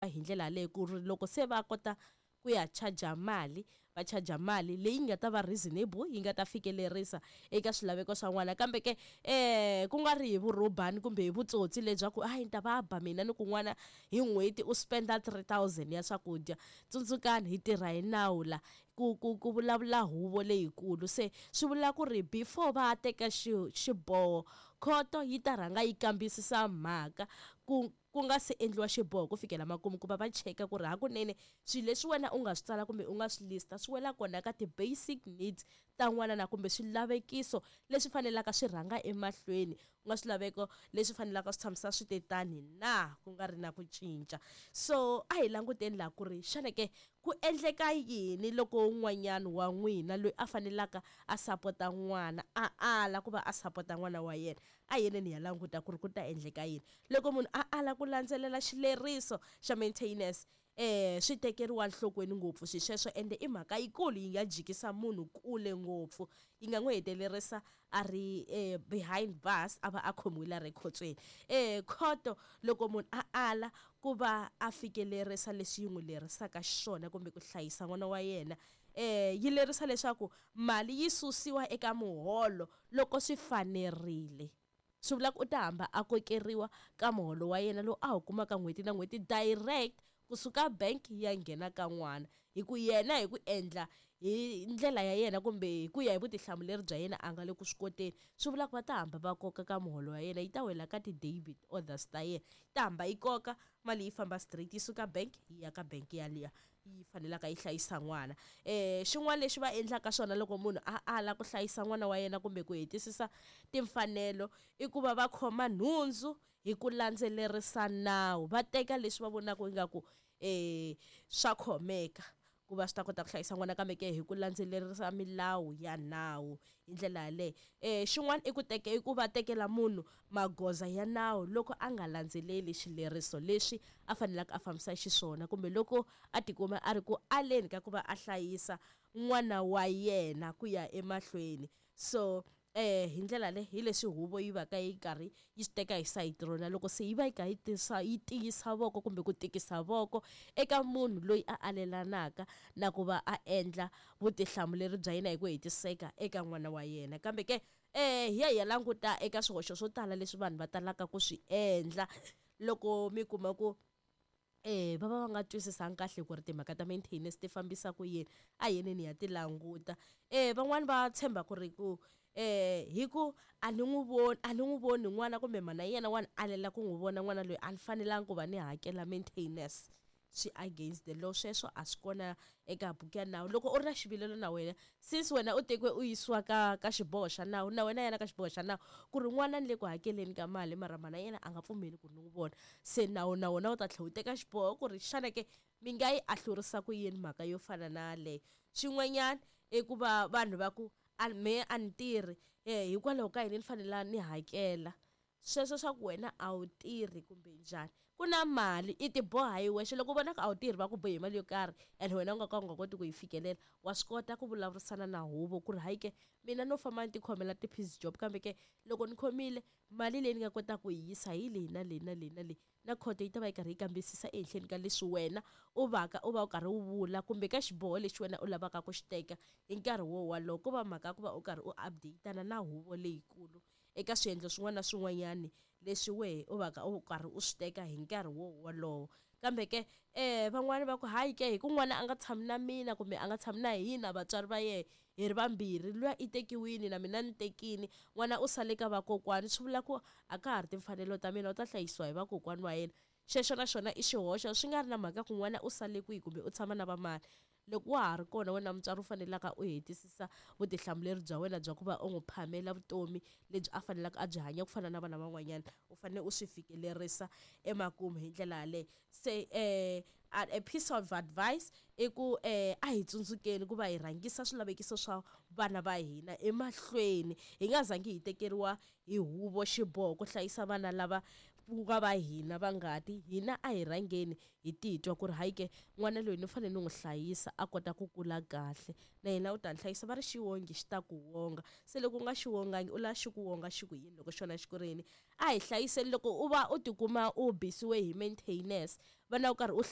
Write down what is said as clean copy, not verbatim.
Hi ndlela yaleyo ku ri loko se va kota ku ya charger mali, va charger mali leyi nga ta va reasonable, yi nga ta fikelerisa eka swilaveko swa n'wana. Kambe ke ku nga ri hi vurhubani kumbe hi vutsotsi lebyaku hayi, ni ta va ba mina ni ku n'wana hi n'hweti u spenda 3000 ya swakudya. Tsundzukani, hi tirha hi nawu la, ku vulavula huvo leyikulu. Se swi vula ku ri before va teka xiboho, khoto yi ta rhanga yi kambisisa mhaka ku nga se endliwa xiboho ku fikela makumu, ku va va cheka ku ri hakunene swilo leswi wena u nga swi tsala kumbe u nga swi lista swi wela kona ka ti-basic needs ta n'wana na, kumbe swilavekiso leswi fanelaka swi rhanga emahlweni, ku nga swilaveko leswi fanelaka swi tshamisa swi te tani na, ku nga ri na ku cinca. So a hi languteni laha ku ri xana ke ku endleka yini loko un'wanyana wa n'wina loyi a fanelaka a sapota n'wana a ala ku va a sapota n'wana wa yena. A yeneni hi ya languta ku ri ku ta endleka yini loko munhu a ala ku landzelela xileriso xa maintenance. Swi tekeriwa nhlokweni ngopfu swi sweswo, ende i mhaka yikulu, yi nga jikisa munhu kule ngopfu, yi nga n'wi hetelerisa a ri behind bars, a va a khomiwile a ri ekhotsweni. Khoto, loko munhu a ala ku va a fikelerisa leswi yi n'wi lerisaka xiswona kumbe ku hlayisa n'wana wa yena, yi lerisa leswaku mali yi susiwa eka muholo loko swi fanerile. Swi vula ku u ta hamba a kokeriwa ka muholo wa yena lowu a wu kumaka n'hweti na n'hweti, direct kusuka bank yi ya nghena ka n'wana, hi ku yena hi ku endla hi ndlela ya yena kumbe hi ku ya hi vutihlamuleri bya yena a nga le ku swi koteni. Swi vula ku va ta hamba va koka ka muholo wa yena, yi ta wela ka ti-debit orders ta yena, yi ta hamba yi koka mali, yi famba straight yi suka bank yi ya ka bank yaliya yi fanelaka yi hlayisa n'wana. Xin'wana lexi va endlaka swona loko munhu a ala ku hlayisa n'wana wa yena kumbe ku hetisisa timfanelo i ku va va khoma nhundzu hi ku landzelerisa nawu, va teka leswi va vonaka ingaku swa khomeka ku va swi ta kota ku hlayisa n'wana, kambe ke hi ku landzelerisa milawu ya nawu hi ndlela yaleyo. Xin'wana i ku teka, i ku va tekela munhu magoza ya nawu loko a nga landzeleli xileriso leswi a fanelaka a fambisa xiswona, kumbe loko a tikuma a ri ku aleni ka ku va a hlayisa n'wana wa yena ku ya emahlweni. So hi ndlela leyi hi leswi huvo yi va ka yi karhi yi swi teka hi sayiti rona loko se yi va yi kha yi tisa, yi tiyisa voko kumbe ku tikisa voko eka munhu loyi a alelanaka na ku va a endla vutihlamuleri bya yena hi ku hetiseka eka n'wana wa yena. Kambe ke hi ya hi ya languta eka swihoxo swo tala leswi vanhu va talaka ku swi endla loko mi kuma ku va va va nga twisisanga kahle ku ri timhaka ta maintenance ti fambisa ku yini. A yeneni ya ti languta. Van'wani va tshemba ku ri ku hi ku a ni n'wi voni, a ni n'wi voni n'wana kumbe mhana yena wa ni alela ku n'wi vona n'wana loyi, a ni fanelanga ku va ni hakela maintenance. Swi against the law sweswo, a swi kona eka buku ya nawu. Loko u ri na xivilelo na wena, since wena u tekiwe u yisiwa ka xiboho xa nawu, na wena yana ka xiboho xa nawu ku ri n'wana ni le ku hakeleni ka mali, mara mhana yena a nga pfumeli ku ni n'wi vona. Se nawu na wona wu ta tlhela wu teka xiboho ku ri xana ke mi nga yi ahlurisa ku yini mhaka yo fana na yaleyo. Xin'wanyana i ku va vanhu va ku a me a ni tirhi, hikwalaho ka yini ni fanele ni hakela? Sweswo swa ku wena a wu tirhi kumbe njhani, ku na mali i ti boha hi wexe. Loko u vona ku a wu tirhi, va ku bohi hi mali yo karhi and wena u nga ka u nga koti ku yi fikelela, wa swi kota ku vulavurisana na huvo ku ri hayi ke, mina no famba ni tikhomela ti-piece job, kambe ke loko ni khomile mali leyi ni nga kotaka ku yi yisa hi leyi na leyi na leyi na leyi. Na khoto yi ta va yi karhi yi kambisisa ehenhleni ka leswi wena u vaka u va u karhi u vula kumbe ka xiboho lexi wena u lavaka ku xi teka hi nkarhi wo walowo. Ko va mhaka ya ku va u karhi u update-ana na huvo leyikulu eka swiendlo swin'wana na swin'wanyani leswi wehe u vaka u karhi u swi teka hi nkarhi wo wolowo. Kambe ke van'wani va ku hayi ke, hi ku n'wana a nga tshami na mina kumbe a nga tshami na hina vatswari va yehe hi ri vambirhi, luya i tekiwini na mina ni tekini, n'wana u sale ka vakokwani, swi vula ku a ka ha ri timfanelo ta mina, u ta hlayisiwa hi vakokwani wa yena. Xexo na xona i xihoxo, swi nga ri na mhaka ku n'wana u sale kwihi kumbe u tshama na vamani. Loko wa ha ri kona wena mutswari u fanelaka u hetisisa vutihlamuleri bya wena bya ku va u n'wi phamela vutomi lebyi a fanelaka a byi hanya ku fana na vana van'wanyana, u fanele u swi fikelerisa emakumu hi ndlela yaleyo. Se a piece of advice i ku a hi tsundzukeni ku va hi rhangisa swilavekiso swa vana va hina emahlweni, hi nga zangi hi tekeriwa hi huvo xiboho ku hlayisa vana lava ku nga va hina va ngati. Hina a hi rhangeni hi titwa ku ri hayi ke, n'wana loyi ni fanele ni n'wi hlayisa a kota ku kula kahle, na yena u ta ni hlayisa. Va ri xiwongi xi ta ku wonga, se loko u nga xiwongangi u lava xi ku wonga xi ku yini loko xona xi ku rini? A hi hlayiseni. Loko u va u tikuma u bisiwe hi maintenance, vana u karhi u